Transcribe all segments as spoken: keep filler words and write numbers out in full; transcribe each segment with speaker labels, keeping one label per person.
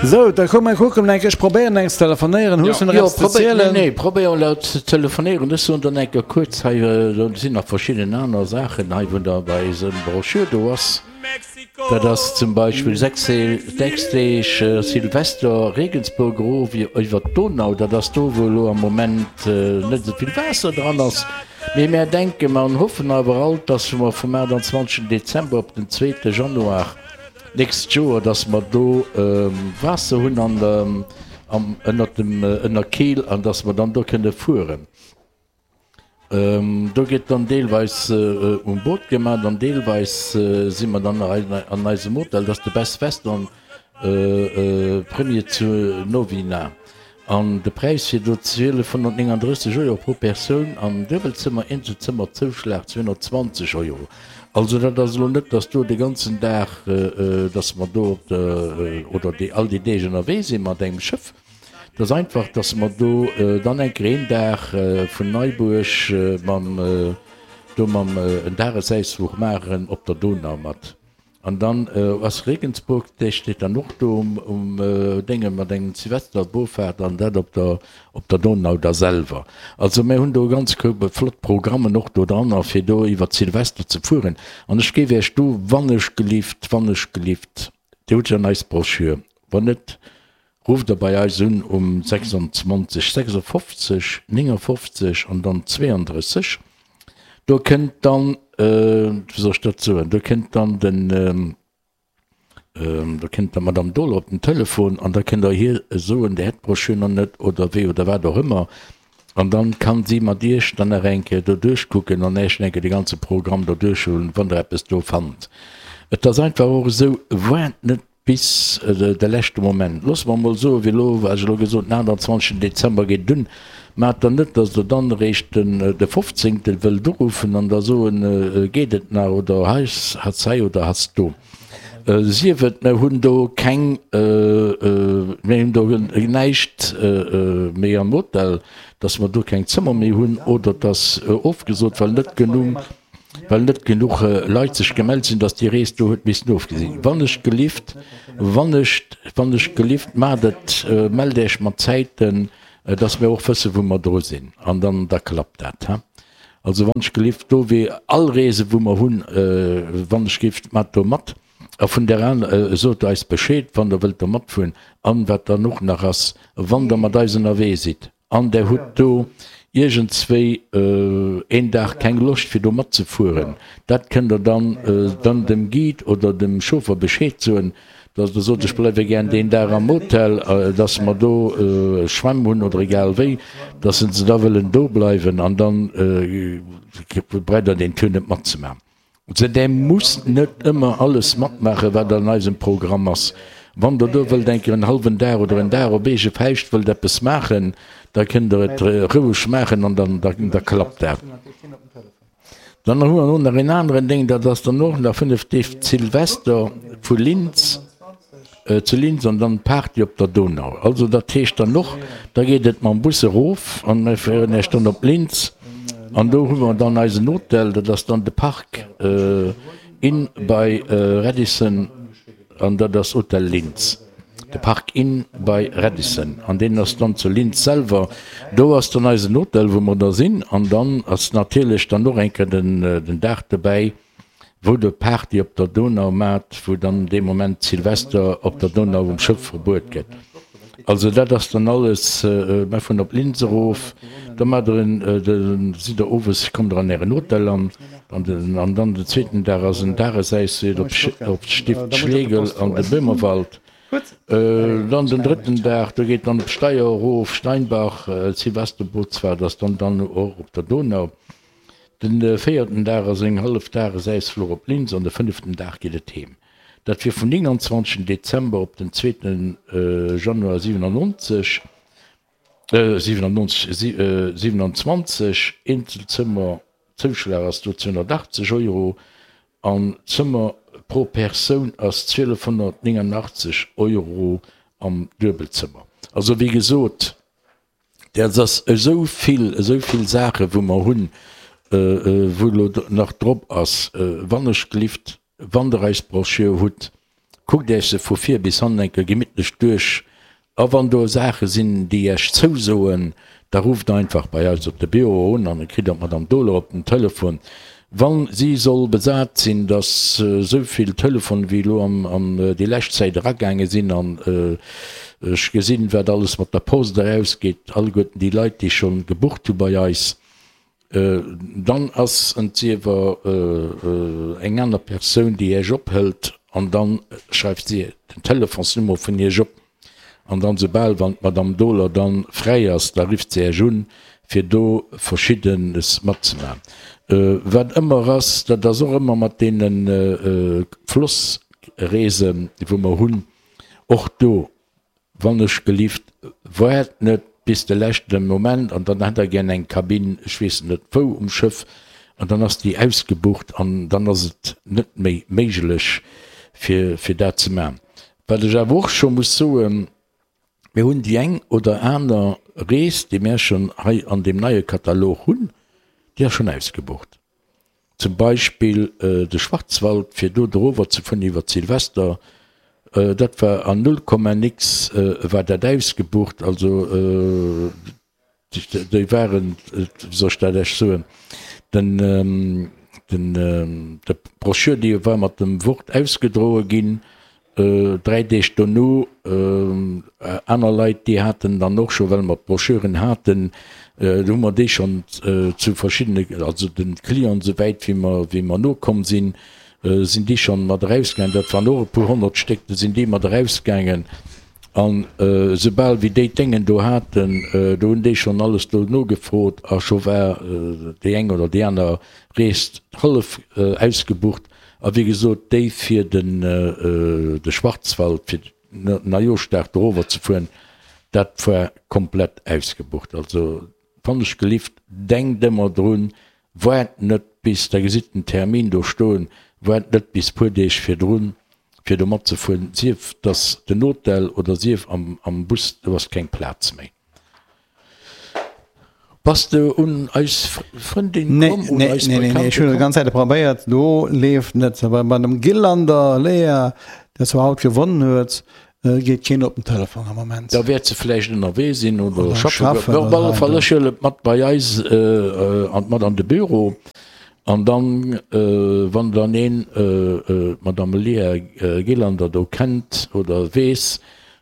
Speaker 1: Sou, da komm mer kucken eng Kéier, ech probéieren eng ze telefonéieren. Hues du nach
Speaker 2: Jo,
Speaker 1: eppes ze
Speaker 2: probéier, nee,
Speaker 1: zielen?
Speaker 2: nee, probéier elo ze telefonéieren. Ech soen dann eng Kéier kuerz hei, do sinn nach verschidden aner Saachen hei, wou da bei eisem Broschür do ass. Dat ass zum Beispill sechs, sechs Deeg Silvester Regensburg erof iwwer d'Donau. Dat ass do, wou elo am Moment net esou vill Waasser dran ass. Mee mär denken an hoffen awer alt, dass mer vum aachtanzwanzegsten Dezember op den zweete Januar d'nächst Joer, dass mer do Waasser hunn an am ënnert dem Ënnerkeel an dass mer dann do kënne fueren. Do gëtt dann deelweis um Boot gemaach an deelweis si mer dann an eisem Hotel, dat ass de Best Western Premier zu Novina. An de Präis wier do zwielefhonnertnénganddrësseg Euro pro Persoun am Duebelzëmmer, Eenzelzëmmer Zouschlag zweehonnertzwanzeg Euro. Also dat ass elo net, dass do de ganzen Dag, dass mer do op der, oder déi all déi Deeg ënnerwee si mat engem Schëff. Et ass einfach, dass mer do dann eng Kéier een Dag vun Neibuerg mam, do mam en Dagesausfluch maachen op der Donau mat. An dann ass Regensburg, dee steet dann och do um Dénge mat engem Silvesterbofahrt an dat op der op der Donau da selwer. Also mir hunn do e ganz Koup flott Programmen och do dran fir do iwwer Silvester ze fueren. An ech géif Iech do wannechgelift, wannechgelift, Dir hutt jo eis Broschür, wann net, rufft Der bei eis un um sechsundzwanzeg sechsundfofzeg néngundfofzeg an dann zweiunddrësseg. Do kënnt dann, wéi soll ech dat soen, do kënnt dann den, do kënnt dann d'Madame Dohler op den Telefon an da kënnt Der hir soen, Dir hätt d'Broschür nach net oder wéi oder wat och ëmmer. An dann kann si mat Iech dann nach eng Kéier do duerchkucken an Iech eng Kéier de ganze Programm do duerchhuelen, wann Der eppes do fannt. Et ass einfach och esou, waart net bis de leschte Moment. Loosse mer emol soen, wéi elo, wat ech elo gesot hunn, den aachtanzwanzegsten Dezember geet et un. Maacht dann net, datt Der dann eréischt den de fofzéngte wëllt uruffen an da soen, geet et nach oder hei ass hei oder ass do. Sief et, mer hunn do keng, mir hunn do näischt méi am Hotel, datt mer do keng Zëmmer méi hunn oder datt ofgesot, well net genuch, well net genuch Leit sech gemellt sinn, datt déi Rees do huet missen ofgesi ginn. Wann ech gelift, wann ech, wann ech gelift, maacht et, mellt Iech mat Zäiten, datt mir och wëssen, wou mer dru sinn an dann, da klappt dat. Also wann ech gelift, do wéi all Reese wou mer hunn, wann ech gelift, maacht do mat. A vun där aner, sot eis Bescheed, wann Der wëllt do matfueren. An wat dann och nach ass, wann Der mat eis ënnerwee sidd an Der hutt do iergendswéi een Dag keng Loscht fir do matzefueren, dat kënnt Der dann dann dem Guide oder dem Chauffer Bescheed soen, dass Der sot, ech bleiwe gär deen Dag am Hotel, dass mer do Schwämm hunn oder egal wéi, dass se da wëllen do bleiwen an dann braucht Der deen Tour net matzemaachen. Der musst net ëmmer alles matmaachen, wat an eisem Programm ass. Wann Der do wëllt eng Kéier en hallwen Dag oder en Dag op eege Fauscht wëllt eppes maachen, da kënnt Der et roueg maachen an dann, da klappt dat. Dann hu mer och nach en aneren Ding, dat ass dann och nach fënnef Deeg Silvester vu Linz, zu Linz an dann d'Party op der Donau. Also dat heescht dann och, da geet et mam Bus erof an mir féieren Iech dann op Linz an do hu mer dann eisen Hotel, dat ass dann de Park Inn bei Radisson an dat ass Hotel Linz, de Park Inn bei Radisson an deen ass dann zu Linz selwer. Do ass dann eisen Hotel, wou mer da sinn an dann ass natierlech dann och eng Kéier den Dag dobäi, wou der Party op der Donau maacht, wou dann dee Moment Silvester op der Donau um Schëff verbuet gëtt. Also dat ass dann alles, mer fueren op Linz erof, da maacht der en, da sidd der owes, kommt der an ären Hotel an, an den, an dann den zweeten Dag ass en Dagesausfluch op op d'Stift Schlegel an de Böhmerwald. Dann den drëtten Dag, do geet dann op Steyr erof, Steinbach, Silvesterbootsfahrt ass dann dann och op der Donau. Den véierten Dag ass eng hallef Dagesausfluch op Linz an de fënneften Dag geet et heem. Dat wier vum nénganzwanzegsten Dezember op den zweeten Januar siwenannonzeg, siwenannonzeg, siewenanzwanzeg. Eenzelzëmmer, Zouschlag ass do zweehonnertachtzeg Euro an d'Zëmmer pro Persoun ass zwielefhonnertnénganachtzeg Euro am Duebelzëmmer. Also wéi gesot, Dat ass esou vill, esou vill Saachen, wou mer hunn, wou elo nach drop ass. Wannechgelift, wann Der eis Broschür hutt, Kuckt Iech se vu vir bis hannen eng Kéier gemittlech duerch. A wann do Saache sinn, déi Iech zousoen, da rufft einfach bei eis op de Büro un an da kritt Der d'Madame Dohler op den Telefon. Wa si soll besat sinn, dass esou vill Telefone wéi elo an déi lescht Zäit eragaange sinn, an ech gesinn, wat alles mat der Post erausgeet, alleguerten déi Leit, déi scho gebucht hu bei eis, dann ass entsiewer eng aner Persoun, déi Iech ophëlt, an da schreift si den Telefonsnummer vun Iech op. An dann soubal wann d'Madame Dohler dann fräi ass, da rifft se Iech un, fir do Verschiddenes matzemaachen. Wat ëmmer ass, dat ass och ëmmer mat deene Flossreesen, wou mer hunn, och do, wann ech gelift, waart net bis de leschte Moment an dann hätt Der gär eng Kabinn, ech weess net wou um Schëff, an dann ass déi ausgebucht an dann ass et net méi méiglech, fir, fir dat ze maachen. Wat ech awer och scho muss soen, Mir hunn déi eng oder aner Rees, déi mär schonn hei an deem neie Katalog hunn, déi ass schonn ausgebucht. Zum Beispill de Schwarzwald, fir do erover ze fueren iwwer Silvester, dat war an null Komma nix war dat ausgebucht. Also déi waren, wéi soll ech dat Iech soen, den, den, de Brochure, déi war mat dem Wort ausgedroe ginn, dräi Deeg dono. Aner Leit, déi haten dann och scho, well mer d'Brochuren haten, do hu mer déi schonn zu verschiddene, also de Clienten, esou wäit wéi mer, wéi mer nokomm sinn, sinn déi schonn mat erausgaangen. Dat waren och e puer honnert Stéck, do sinn déi mat erausgaangen. An esoubal wéi déi d'Déngen do haten, do hunn déi schonn alles do nogefrot a scho war déi eng oder déi aner Rees hallef ausgebucht. A wéi gesot, déi fir den de Schwarzwald, fir Neijooschdag do erover ze fueren, dat war komplett ausgebucht. Also wann ech gelift, denkt ëmmer drun, waart net bis, der gesitt den Termin do stoen, waart net bis puer Deeg virdrun, fir do matzefueren, sief dass den Hotel oder sief am Bus, do ass keng Plaz méi. Bass de un eis Frëndin komm?
Speaker 1: Nee, nee, nee, nee, ech hunn et ganz Zäite probéiert, do leeft net. Bei bei dem Gylander Lea, der zwar haut gewonnen huet, geet keen op den Telefon am Moment.
Speaker 2: Da wäert se vläicht ënnerwee sinn oder schaffen. Op alle Fall, ech huele et mat bei eis an mat an de Büro. An dann, wann dann een d'Madame Léa Gylander do kennt oder weess,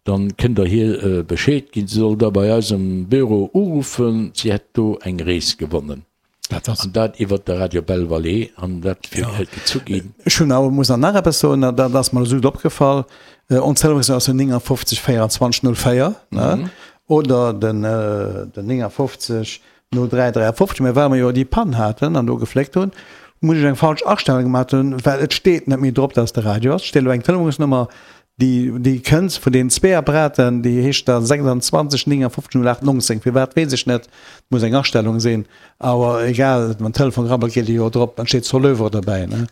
Speaker 2: dann kënnt Der hir Bescheed ginn. Si soll da bei eis am Büro uruffen, si hätt do eng Rees gewonnen. An dat iwwert de Radio Belle Vallée, an dat fir gezu ginn.
Speaker 1: Ech hunn awer, muss nach eppes soen, dat ass mer esou opgefall, Ons Telefonsnummer ass jo neunundfünfzig vierundzwanzig null vier, ne? Oder den neunundfünfzig No dräi dräiafofzeg, mä well mer jo déi Pann haten an do gefléckt hunn, muss ech eng falsch Astellung gemaat hunn, well et steet net méi drop, dass et de Radio ass. Et steet elo eng Telefonsnummer, déi, déi kënnt vun deenen zwee Apparaten, déi heescht da sechsundzwanzeg neunundfünfzig null acht neunzehn. Firwat, weess ech net, et muss eng Astellung sinn, awer egal, wann den Telefon rabbelt, geet e jo drop, dann steet Soleuvre dobäi, ne?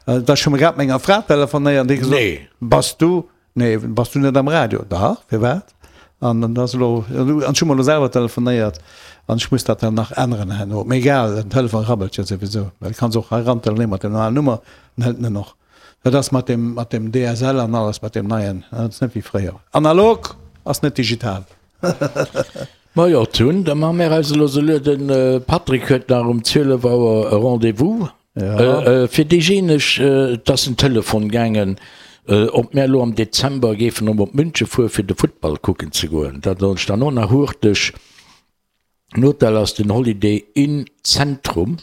Speaker 1: Da ech hu mer grad mat menger Fra telefonéiert an déi gesot, Bass du Nee, bass du net am Radio? Dach, firwat? An dann ass elo, an ech hu mer elo selwer telefonéiert an ech muss dat dann nach änneren herno. Mee egal, den Telefon rabbelt jo souwisou, well du kanns och hei ran telefonéieren mat der normalen Nummer, dann hëlt en en och. Dat ass mat deem, mat deem D S L an alles, mat deem neien, dat ass net wéi fréier. Analog ass net digital.
Speaker 2: Majo, Tun, da maache mir eis elo esou lues. De Patrick huet nach um zwielef Auer e Rendez-vous. Ja. Fir déijéineg, et ass en Telefon gaangen, ob mär elo am Dezember géifen erëm op München fuere fir de Futtball kucken ze goen. Dat soll ech dann och nach hurteg. Den Hotel ass den Holiday Inn Zentrum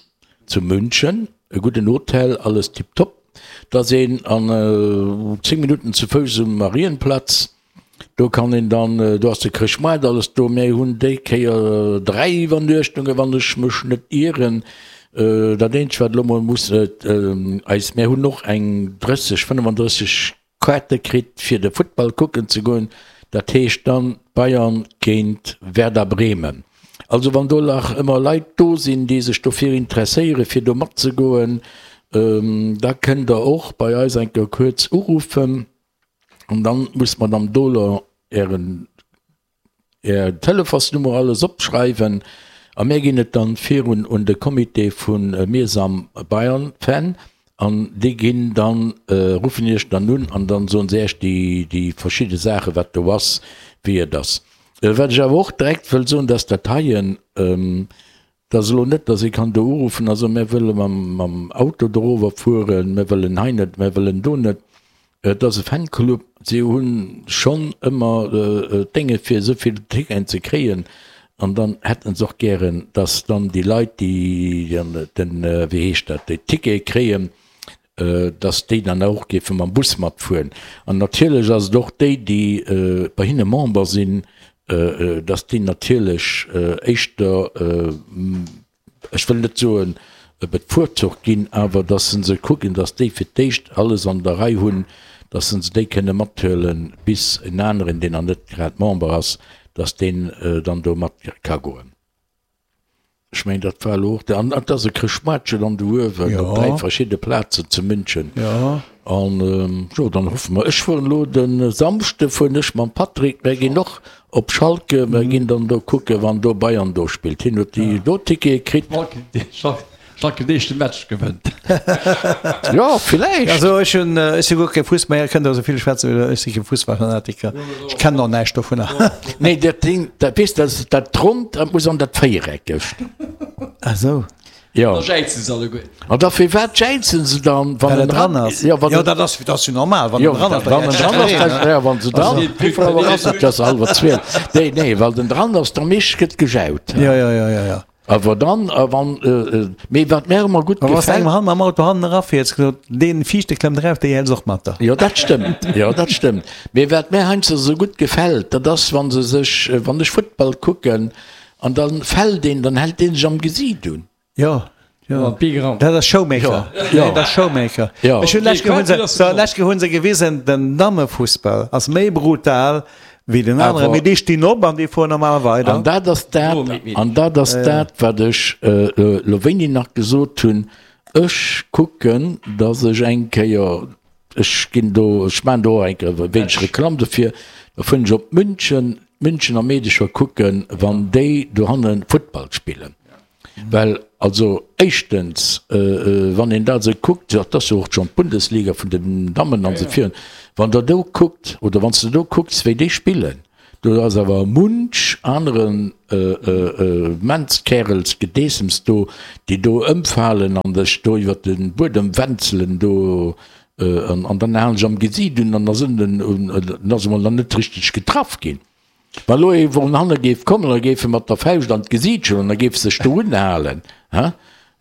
Speaker 2: zu München, e gudden Hotel, alles tiptop. Da ass een an zéng Minutten zu Fouss um Marienplatz. Do kann een dann, do ass de Chrëschtmoart alles do. Mir hunn déi Kéier dräi Iwwernuechtungen, wann ech mech net ieren. Dat eenzegt, wat elo mol muss eis, mir hunn och eng drësseg, fënnefandrësseg Kaarte kritt, fir de Futtball kucken ze goen. Dat heescht dann Bayern géint Werder Bremen. Also wann do nach ëmmer Leit do sinn, déi sech dofir interesséieren, fir do matzegoen, da kënnt Der och bei eis eng Kéier kuerz uruffen. An dann muss d'Madame Dohler ären, är Telefonsnummer alles opschreiwen a mir ginn et dann virun un de Comité vu Mir sam Bayern Fan An déi ginn dann, ruffen Iech dann un an dann soen se Iech déi, déi verschidde Saachen, wat do ass, wéi et ass. Wat ech awer och direkt wëll soen, dass dat heien, dat ass elo net, dass ee kann do uruffen a soen, mär wëlle mam, mam Auto dorower fueren, mär wëllen hei net, mär wëllen do net. Et ass e Fanclub, si hu schonn ëmmer d'Dénge fir esou vill Ticketen ze kréien an dann hätte se och gären, dass dann déi Leit, déi den, wéi heescht dat, déi Tickete kréien, dass déi dann och géife mam Bus matfueren. An natierlech ass et och déi, déi bei hinne Member sinn, dass déi natierlech éischter, ech wëll net soen bevorzugt ginn, awer dass se se kucken, dass déi fir d'éischt alles an der Rei hunn, dass se se déi kënne mathuelen, bis en aneren, deen nach net grad Member ass, dass deen dann do mat ka goen. Ech mengen, dat war elo och de, an et ass e Chrëschtmaartchen an do uewen op dräi verschidde Plazen zu München. An jo, dann hoffe mer, ech fueren elo de Samschde fueren ech mam Patrick, mär ginn och op Schalke, mär ginn dann do kucken, wann do Bayern do spillt. Hien huet déi do Tickete kritt.
Speaker 3: Schalke den éischte Match gewënnt.
Speaker 2: Jo, villäicht.
Speaker 1: Also ech hunn, ech si guer kee Fussball, Dir kënnt esou vill schwätzen, wéi der, ech si kee Fussballfanatiker, ech kennen och näischt dovunner.
Speaker 2: Nee, dat Ding, dat weess de, dat Ronnt, dat muss an dat Véiereckegt.
Speaker 1: Ah sou.
Speaker 2: Jo.
Speaker 3: Da jäizen se alleguer.
Speaker 2: An da firwat jäizen se dann, wann
Speaker 1: Well
Speaker 2: en
Speaker 1: en dran ass.
Speaker 2: Jo, wann
Speaker 1: Jo,
Speaker 2: en,
Speaker 1: dat ass, dat ass jo normal, wann
Speaker 2: jo,
Speaker 1: en dran ass, da
Speaker 2: wann en
Speaker 1: jäizt
Speaker 2: dran ass,
Speaker 1: jiddereen,
Speaker 2: da,
Speaker 1: ne?
Speaker 2: ja, wann se dran, wéi vill Auer ass et? Et ass hallwer zwielf. Nee, nee, well den dran ass, da meescht gëtt gejaut.
Speaker 1: Jo, jo, jo, jo, jo.
Speaker 2: Awer dann, a wann, mee wat mär ëmmer gutt
Speaker 1: Wann s de
Speaker 2: gefält.
Speaker 1: engem hannen am Auto hannen erafiers, gesot, deen Viischte klëmmt erauf, déi häls och mat der.
Speaker 2: Jo, dat stëmmt, jo, dat stëmmt. Mee wat mär heiansdo esou gutt gefält, dat ass, wa se sech, wann ech Futtball kucken, an da fält een, dann hält dee sech am Gesiit un.
Speaker 1: Jo, jo, dat ass Showmaker.
Speaker 2: Jo,
Speaker 1: dat ass Showmaker.
Speaker 2: Jo.
Speaker 1: Ech hunn lech hunn se, so, lech hunn se gewisen, den Dammefussball ass méi brutal wéi den aneren, mee déi stinn op an déi fueren normal weider.
Speaker 2: An dat ass dat, an dat ass dat, wat ech elo wéini nach gesot hunn, ech kucken, datt ech eng Kéier, ech ginn do, ech maachen do och eng Kéier e wéineg Reklamm dofir, da fueren ech op München, d'Münchener Meedecher kucken, wann déi dohanne Futtball spillen. Well also éischtens, wann een dat esou kuckt, dat ass jo och schonn d'Bundesliga vun den Dammen an esou virun, wann Der do kuckt oder wann s de do kucks, wéi déi spillen, do ass awer munch anere Mänzkärelsgedeessems do, déi do ëmfalen an sech do iwwer de Buedem wänzelen do an dann halen sech am Gesiit un an da sinn den, dann ass emol nach net richteg getraff ginn. Wa lo ee vun hanne géif kommen a géif e mat der Fauscht an d'Gesiit schloen an da géif sech do unhalen, hä,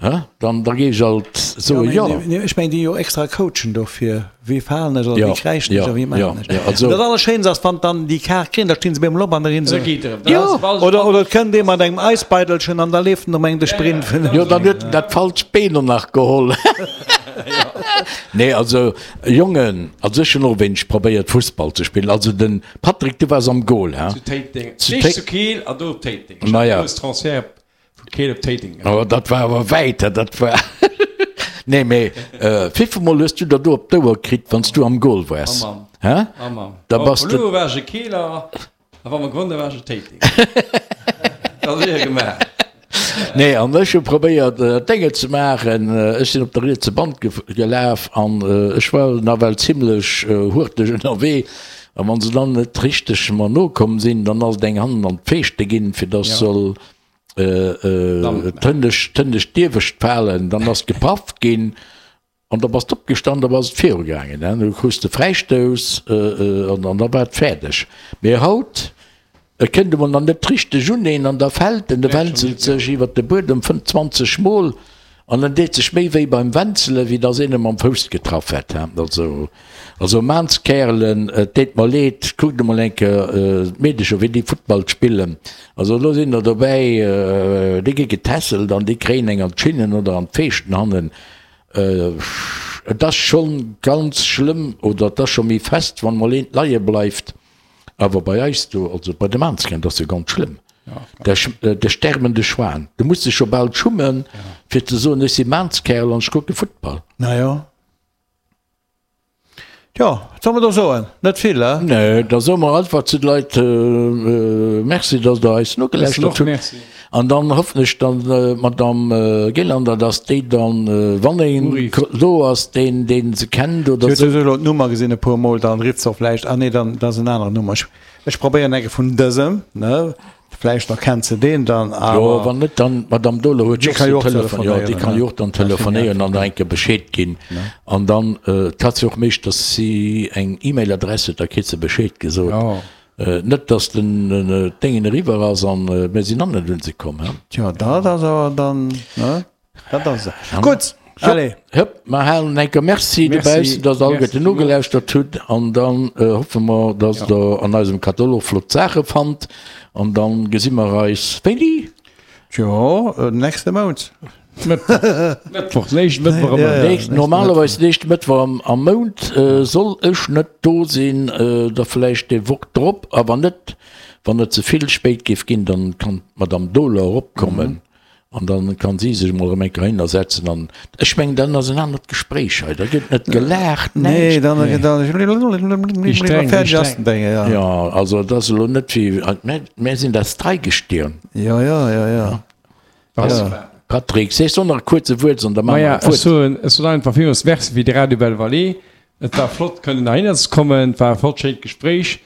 Speaker 2: hä, dann, da géif ech alt soen, jo.
Speaker 1: Jo, ech mengen, déi hu jo extra Coachen dofir, wéi falen ech oder wéi kräischen ech
Speaker 2: Jo,
Speaker 1: a wéi
Speaker 2: jo,
Speaker 1: maachen ech.
Speaker 2: jo, also.
Speaker 1: Dat Allerschéinst ass, wann dann déi Kaart kréien, da stinn se bemol op an da rinn se.
Speaker 2: Jo.
Speaker 1: Oder, oder et kënnt ee mat engem Eisbeidelchen an da leeft en um eng de Sprint vun.
Speaker 2: Jo, dann huet en dat falscht Been och nach geholl. Nee, also Jongen, also ech hunn och e wéineg probéiert Fussball ze spillen. Also den Patrick, du waars am Goal, he?
Speaker 3: Zu Téiteng, éischt zu Keel an do op Téiteng. Ech hat
Speaker 2: Naja.
Speaker 3: e grouss Transfert vu Keel op Téiteng gemaach.
Speaker 2: Oh, dat war awer wäit, he, dat war. Nee, mee wéivill Mol hues du der do op d'Ouer kritt, wann s du am Goal waars,
Speaker 3: Oh Mann,
Speaker 2: he?
Speaker 3: oh Mann.
Speaker 2: Da
Speaker 3: Wa mer
Speaker 2: bass de.
Speaker 3: verluer hu war ech e Keeler a wa mer gewonnen hu war ech e Téitenger. Dat ass éier gemaach.
Speaker 2: Nee, an ech hu probéiert Dénge ze maachen. Ech sinn op der rietse Band gelaf an ech war nawell zimlech hurteg ënnerwee. A wann se dann net richteg mer nokomm sinn, dann ass et eng hannen an d'Feeschte ginn, fir dass soll d'hënnescht d'iewescht falen. Dann ass gepaff ginn. An da bass de opgestan, da bass et viru gaangen, hein, du krus de Fräistouss an an da war et fäerdeg. Mee haut, e kënnt emol nach net richteg un een an da fält en, e wänzelt sech iwwer de Buedem fënnzwanzeg Mol an en deet sech méi wéi beim Wänzelen, wéi dass een e mam Fouss getraff hätt, hein. Also, also Maanskäerlen, et deet mer leed, kuckt emol eng Kéier d'Meedecher, wéi déi Futtball spillen. Also elo sinn der dobäi, déi gi getässelt an déi kréien eng an d'Schinnen oder an d'Feeschten hannen. Et ass scho ganz schlëmm oder et ass scho méi fest, wann mol eent leie bleift. Awer bei eis do, also bei de Maanzkeng, dat ass jo ganz schlëmm. Der sterbende Schwan. Du muss dech scho bal schummen, fir ze soen, ech si Maanzkerl an ech kucke Futtball.
Speaker 1: Na jo. Tjo, wat soll mer do soen? Net vill, he?
Speaker 2: Nee, da soe mer einfach zu de Leit Merci, dass Der eis nogelauschtert hutt. An dann hoffen ech dann, d'Madame Gelander, dass déi dann, wann een do ass, deen, deen se kennt oder
Speaker 1: esou. Si huet elo d'Nummer gesinn e puer Mol, dann rifft se och vläicht, ah nee, dann, dat ass en aneren Nummer. Ech, ech probéieren eng vun dësem, ne, vläicht erkennt se deen dann,
Speaker 2: awer. Jo, wann net, dann, d'Madame Dohler huet jo och säi Telefon, jo, déi kann jo och dann telefonéieren an da eng Kéier Bescheed ginn. An dann, et hat se och meeschters si eng E-Mail-Adress huet, da kritt se Bescheed gesot. Net dass den Déngen eriwwer ass an mir sinn nach net un se komm, he?
Speaker 1: Tjo, dat ass awer dann, ne? Dat ass se. Gutt, allez.
Speaker 2: Hëpp, mer halen enker Merci dobaussen, dass der alleguerten nogelauschtert hutt an dann hoffe mer, dass der an eisem Katalog flott Saache fannt an dann gesi mer eis wéini?
Speaker 1: Tjo, nächste Mount.
Speaker 3: Mëttwoch, den éischten Mëttwoch am
Speaker 2: Mount. Nächst, normalerweis den éischte Mëttwoch am, am Mount äh, soll ech net do sinn, äh, da vläicht déi Woch drop, a wann net, wann et ze vill spéit géif ginn, dann kann d'Madame Dohler eropkommen an dann kann si sech emol erëm eng Kéier heihinner setzen an ech mengen, dann ass en anert Gespréich hei, da gëtt net gelaacht,
Speaker 1: Nee,
Speaker 2: näischt.
Speaker 1: dann, dann,
Speaker 3: Déi streng, déi streng.
Speaker 1: Ja,
Speaker 2: Ja, also et ass elo net wéi, mä mär sinn das Dreigestirn.
Speaker 1: ja, ja, ja, ja.
Speaker 2: Ja. Patrick, sees du nach e kuerze Wuert, an da maache
Speaker 3: Maja,
Speaker 2: mer
Speaker 3: ech
Speaker 2: fuert.
Speaker 3: soen, ech soen einfach villmools Merci fir de Radio Belle Vallée. Et war flott kënnen heihinner ze kommen. Et war e flott schéint Gespréich.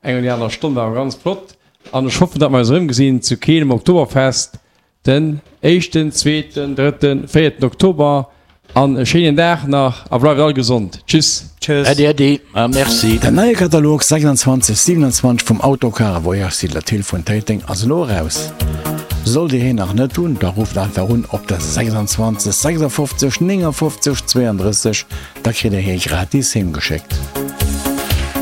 Speaker 3: Eng oder déi aner Stonn war awer ganz flott. An ech hoffen, datt mer eis erëmgesinn zu Keel um Oktoberfest den éischten, zweeten, drëtten, véierten Oktober. An e schéinen Dag nach a bleift all gesond. Tschüss.
Speaker 1: Tschüss.
Speaker 2: Äddi, äddi a merci.
Speaker 4: Den neie Katalog sechsundzwanzeg siewenundzwanzeg vum Autocar Voyage Siedler Thill vun Téiteng ass elo eraus. Sollt Dir hien nach net hunn, da rufft einfach un op der sechsundzwanzeg sechsundfofzeg néngundfofzeg zweiunddrësseg, da kritt Dir hie gratis heem geschéckt.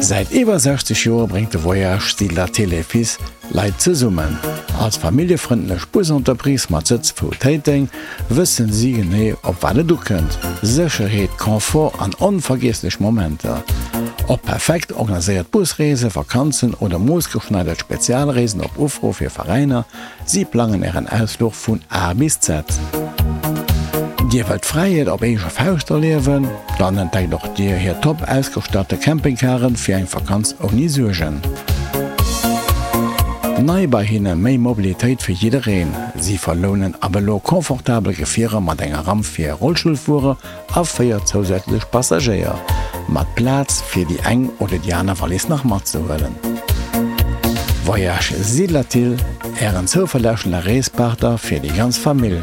Speaker 4: Säit iwwer sechzeg Joer bréngt de Voyage Siedler Thill et Fils Leit zesummen. Als familljefrëndlech Busentreprise mat Sëtz vu Téiteng wëssen si genee op wat et ukënnt, Sécherheet, Confort an onvergiesslech Momenter. Ob perfekt organiséiert Busreesen, Vakanzen oder moossgeschneidert Spezialreesen op Ufro fir Veräiner, si plangen Ären Ausfluch vun A bis Z. Dir wëllt Fräiheet op eege Fauscht erliewen? Dann entdeckt och Dir hir top ausgestatte Campingcaren fir eng Vakanz ouni Suergen. Nei bei hinne, méi Mobilitéit fir jiddereen. Si verlounen ab elo confortabel Gefierer mat enger Ramp fir Rollstullfuerer a véier zousätzlech Passagéier, mat Plaz fir déi eng oder déi aner Wallis nach matzehuelen. Voyage Siedlerthill, Ären zouverlässege Reespartner fir déi ganz Famill.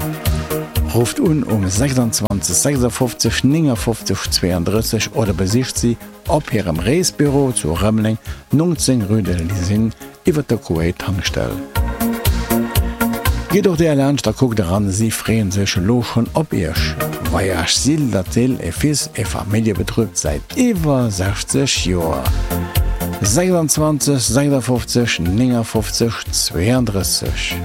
Speaker 4: Rufft un um sechsundzwanzeg sechsundfofzeg néngundfofzeg zweiunddrësseg oder besicht si op hirem Reesbüro zu Rëmeleng, neunzehn rue de l'Usine, iwwer der Kuwait-Tankstell. Gitt och där laanscht a kuckt eran, si freeën sech elo schonn op iech. Voyage Sill-Lathill et Fils e Familljebetrib säit iwwer sechzeg Joer. sechsundzwanzeg sechsundfofzeg néngundfofzeg zweiunddrësseg.